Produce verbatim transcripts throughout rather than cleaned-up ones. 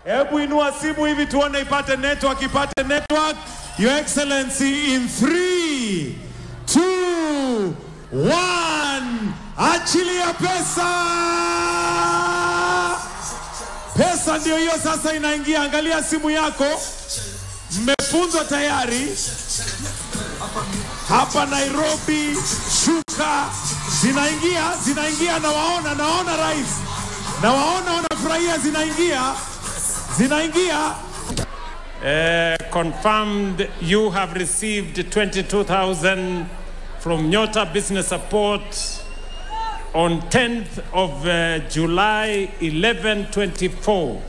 Hebu inua simu hivi tuone, ipate network, ipate network. Your Excellency, in three, two, one. Achilia pesa. Pesa ndio hiyo sasa inaingia. Angalia simu yako. Mmefunzwa tayari. Hapa Nairobi, shuka. Zinaingia, zinaingia, nawaona, naona rais. Nawaona wanafurahia, zinaingia. Zinaingia. Eh, confirmed you have received twenty-two thousand from Nyota Business Support on tenth of, uh, July, eleven twenty-four.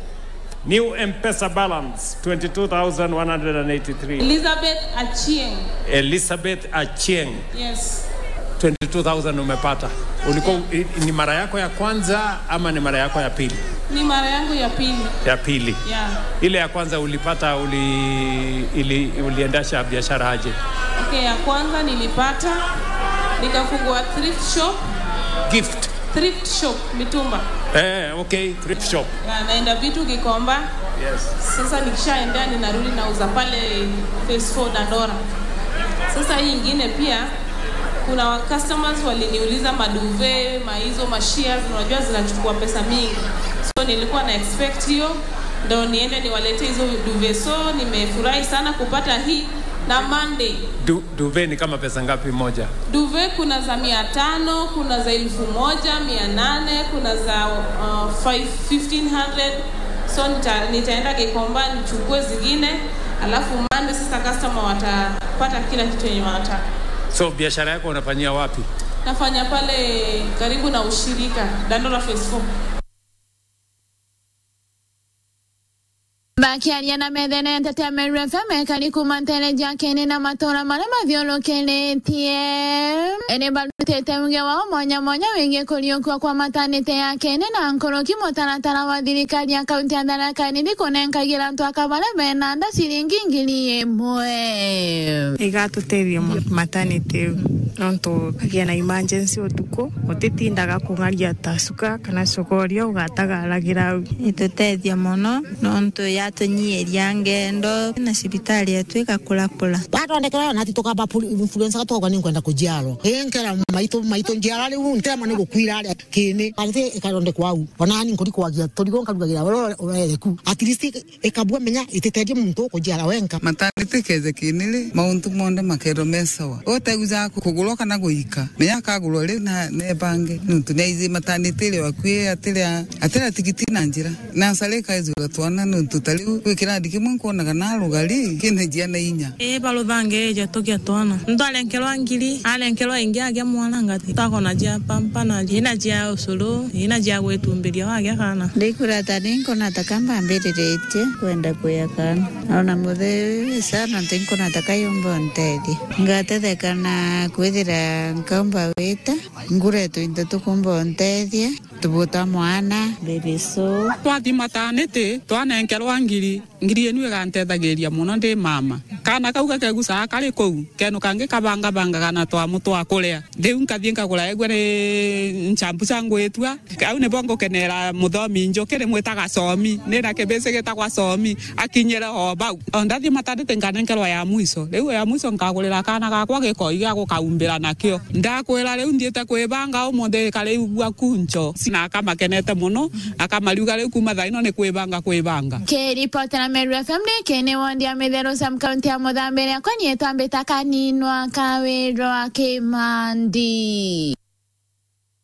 New M-Pesa balance, twenty-two thousand one hundred and eighty-three. Elizabeth Achieng. Elizabeth Achieng. Yes. Twenty-two thousand umepata. Ulikuwa, yeah, i-, ni mara yako ya kwanza ama ni mara yako ya pili? Ni mara yangu ya pili. Ya pili. Yeah. Ile ya kwanza ulipata, uli-, ili-, uliendesha biashara aje? Okay, ya kwanza nilipata, nikafungua thrift shop. Gift. Thrift shop, mitumba. Eh, okay, thrift shop. Ya, naenda vitu Gikomba. Yes. Sasa nikishaendea ninarudi nauza pale phase four Dandora. Sasa hii ingine pia, kuna wa customers waliniuliza maduve, maizo, mashears, unajua zinachukua pesa mingi. So nilikuwa na expect hiyo, ndo niende niwaletee hizo duve. So nimefurahi sana kupata hii na Monday. Du-, duve ni kama pesa ngapi moja? Duve kuna za mia tano, kuna za elfu moja, mia nane, kuna za, uh, five, fifteen hundred. So nita-, nitaenda Gikomba nichukue zingine, alafu Monday sasa customer watapata kila kitu yenye wanataka. So biashara yako unafanyia wapi? Nafanya pale karibu na ushirika, Dandora Phase four. Bakiaria na methene ya nteto ya Meru F M, ekari kuma nteere cia Kieni na matuura maria mathiurukiritie, ni barutite uge wao mwanya mwanya wigii kuriukua kwa matanite ya Kieni na nkuruki mutaratara wa thirikari ya kaunti ya Tharaka Nithi kunenkagira antu aka baria bena nda ciringi ngiri imwe. Igatutethia mono matanite iu, nontu kagia na emergency utuku, utitindaga kung'aria ta cuka kana cokoria ugatagaragira au. Itutethia mono. Nontu yatunyiiria ngendo na cibitari yetu igakurakura. Batondekerwa na ati tukamba pul-, influenza tukauga, "Ninkwenda kujiarwa." Ii nkera maitu, maitu njiara riu, ntirema ni gukwira aria Kieni. Ati ikarondekwa au. Ona ni nkuri kwagia turigo nkarugagira uria urereku. At least ikabua menya ititeethia muntu ukujiara wenka. Maternity kethekini ri, mauntu monthe makeethirwa me sawa. Uteuja kugurwa kana guika, menya akagurwa ri na nebange, nontu niaiji maternity ri wakui atiria, atiria tigiti na njira. Nasari ikaijurwa twana, nontu ta riu kwi kirandi kimwe nkwonaga na rugari kina jiana inya. Ii, baruthange eja tugia twana. Muntu arenkerwa ngiri, arenkerwa ingi agia mwana ngati. Takona jia pampa na ina jia ucuru, ina jia gwitumbiria wagia kana. Ndikurata ni nkona ta ka mbambiriritie kwenda kuya kana. Ona mutheu sana nti nkona ta ka yumba untethia. Ngatetheka na kwithira nkaumba wita, ngure twinto tukumba untethia, tubuta mwana, baby so. Twathi mataniti, twanenkerwa ngiri, ngiri inu igantethagiria mono ndi mama. Kaana kau gakegucaga kari kuu, kenu kangi kabangabangaga na twamu twa kuria. Riu nkathii nkagura egua ni nchampu cia ngwitua. Au nibo ngukenera muthomi Njuki, rimwitaga Somi. Nina kibisi gitagwa Somi, akinyire o bau. O ndathii mataniti nkanenkerwa ya mwiso. Riu ya mwiso nkagurira kaana gakwa gikoi gia gukaumbira nakio. Ndakwira riu nthiite kwibanga umunthi, kariu gua kuncho. Na akamakenete mono, akamariuga riu kuma thaa ino ni kwibanga kwibanga. Kiripotera Meru F M ni Kieni wondi ya Mitheru sub county ya Muthambi, riakwa ni itwambita Kaninwa Kawirwa Kimandi.